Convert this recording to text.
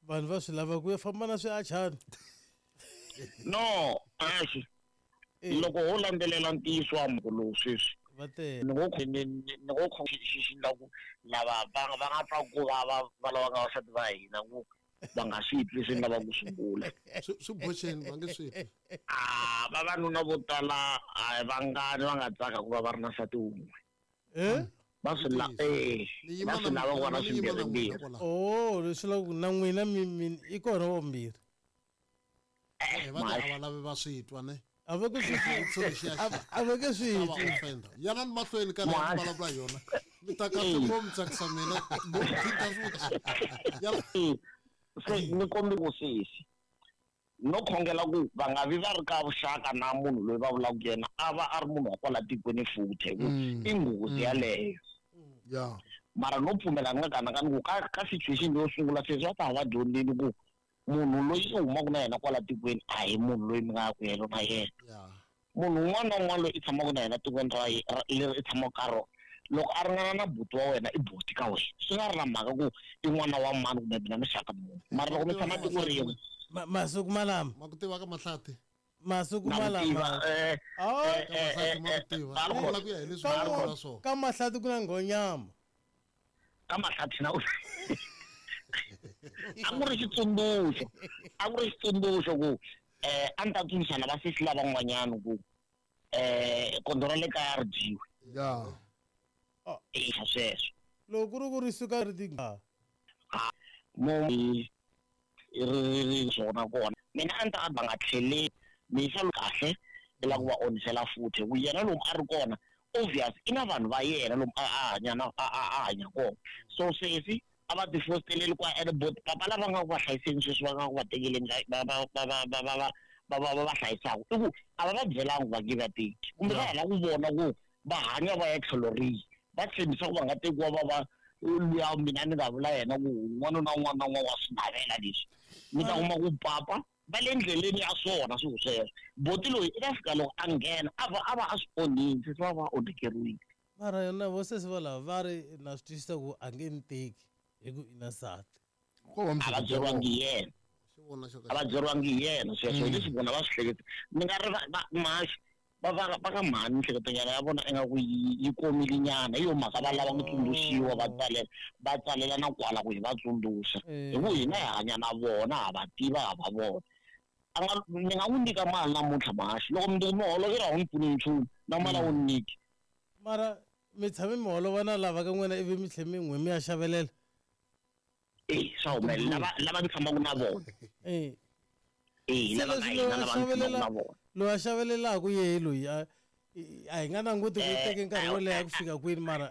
Vanhu va swi lava ku ya famba na swiachana. No, axi. Loko ho landzelela ntiyiso wa mhaka lowu sweswi. Va tele. Ni ngo ni ni ngo xi xi la ku lava va va nga twa ku vava va lavaka vasati va hina ku va nga swi twi leswi ni lavaka ku swi vula. Swi swi boxeni va nge swi twi. A vavanuna vo tala a hi vangani va nga tsaka ku va va ri na nsati wun'we. Eh? Va swi la eh va swi lava ku va na swimbirhimbirhi. Oh, leswi la ku na n'wina mi mi i kona wa vumbirhi. Eh, va a va lavi va swi twa ne. A va ku swi twi. A va ke swi twi. Yanani mahlweni ka leyi mi vulavula hi yona. Mi ta kahle mo mi tsakisa mina. Mo mi phita futhi. Se ni kombi ku sesi no khongela ku va nga vi va ri ka vuxaka na munhu loyi va vulaka yena a va a ri munhu wa kwala tikweni futhi hi ku i nghozi yaleyo. Mara no pfumela ni nga kanakani ku ka ka situation yo sungula sesi va ta va dyondzile ku munhu loyi i humaka na yena kwala tikweni a hi munhu loyi mi nga ya ku yena na yena. Munhu un'wana na un'wana loyi i tshamaka na yena tikweni ra leri i tshamaka ka rona, loko a ringana na buti wa wena i buti ka wena. Swi nga ri na mhaka ku i n'wana wa mani kumbe mi na muxaka muni. Mara loko mi tshama tiko rin'we. Masiku malama. Ma ku tiva ka Mahlati? Masiku malama. Ka Mahlati ma ku tiva. Ni vula ku ya hi leswi va vula swona. Ka Mahlati ku na nghonyama. Ka Mahlati na a ku ri xitsundzuxo a ku ri xitsundzuxo ku eh a ni ta tsundzuxa na vasesi lavan'wanyana ku eh kondlo ra le kaya ri dyiwe ya eh sweswo loko ku ri ku ri suka ri ti mo ri ri swona kona mina a ni ta va nga tlheleli misa kahle i lava ku va onhisela futhi ku yena lomu a ri kona obvious i na vanhu va yena lomu a hanya na a hanya kona so sesi a va ti fosteleli kwa ene bot papa lava nga ku va hlayiseni sweswi va nga ku va tekeleni va va va va va va va va va va hlayisaka i ku a va va byelanga ku va nge va teki kumbe va ha lava ku vona ku va hanya va ya tlhelo rihi va tshembisa ku va nga tekiwa va va luya mina ni nga vula yena ku un'wana na un'wana na un'wana wa swi navela leswi mi ta kuma ku papa va le ndleleni ya swona swilo sweswo boti loyi i ta fika loko a nghena a va a va a swi onhile se va va onhakeriwile mara yona vo sesi valava va ri na swi twisisa ku a nge ni teki hi ku i na nsati a va byeriwangi hi yena a va byeriwangi hi yena sweswo hi leswi vona va swi hleketa ni nga ri maxi va va va ka mhani mihleketonyana ya vona ingaku yi komile nyana hi yo mhaka va lava ku tsundzuxiwa va tsalela va tsalela na kwala ku hi va tsundzuxa hi ku hina hi hanya na vona ha va tiva ha va vona a nga ni nga n'wi nyika mali namuntlha mahaxi loko mundzuku mi holovela a wu ni pfuni nchumu na mali a wu ni nyiki mara mi tshame mi holova na lava ka n'wina ivi mi tlhe mi n'we mi ya xavelela e swa humelela lava lava ni tshamaka na vona e e se lava ka leswi hina lava ni tshamaka na vona loyi a xavelelaka yehe loyi a hi nga languti ku yi teke nkarhi wo leha ku fika kwini mara